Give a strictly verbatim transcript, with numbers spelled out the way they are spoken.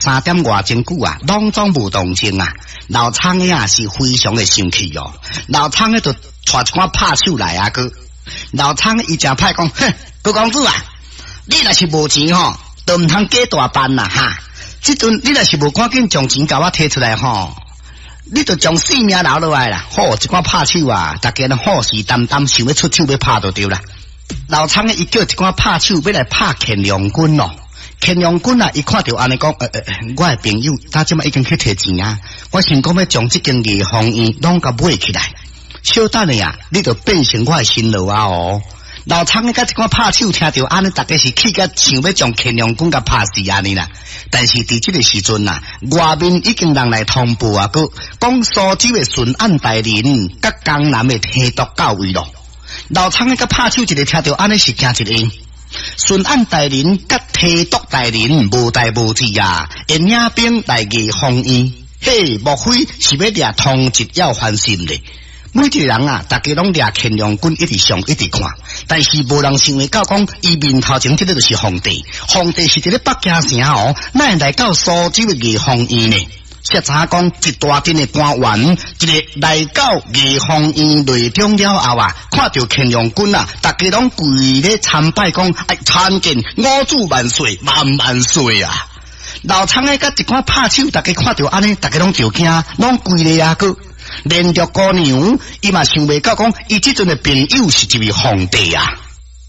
三點外鐘久啊，攏總無動靜啊。老倉的啊是非常的生氣哦。老倉的就帶一寡拍手來啊，閣老倉伊誠歹講，哼，高公子啊，你若是無錢吼，都毋通假大辦啦哈。這陣你若是無趕緊將錢共我提出來吼，你就將性命留落來啦。好，這寡拍手啊，逐家攏虎視眈眈，想欲出手欲拍就對啦。老倉的伊叫一寡拍手欲來拍乾隆君咯。乾隆君啊，伊看著按呢講，呃呃，我的朋友，他這擺已經去提錢啊，我想講欲將這間藝芳院攏共買起來。小等下啊，你就變成我的新郎啊哦。老倉的佮一寡拍手聽著按呢，逐家是氣甲想欲將乾隆君共拍死按呢啦。但是佇這个時陣啊，外面已經人來通報啊，閣講蘇州的巡按大人佮江南的提督到位咯。老倉的佮拍手一个聽著按呢是驚一下。巡按大人佮提督大人無代無誌啊，會領兵來藝芳院，嘿，莫非是欲掠通缉要還心咧？每一個人啊，逐家攏掠乾隆君一直上一直看，但是無人想會到講，伊面頭前這个就是皇帝，皇帝是佇咧北京城哦，哪會來到蘇州的藝芳院呢？才知影講，一大陣的官員，一个來到藝芳院內中了後啊，看著乾隆君啊，逐家攏跪咧參拜，講哎，參見我主萬歲，萬萬歲啊！老倉的佮一寡拍手，逐家看著按呢，逐家攏著驚，攏跪咧啊閣。連玉姑娘，伊嘛想袂到講，伊這陣的朋友是一位皇帝啊！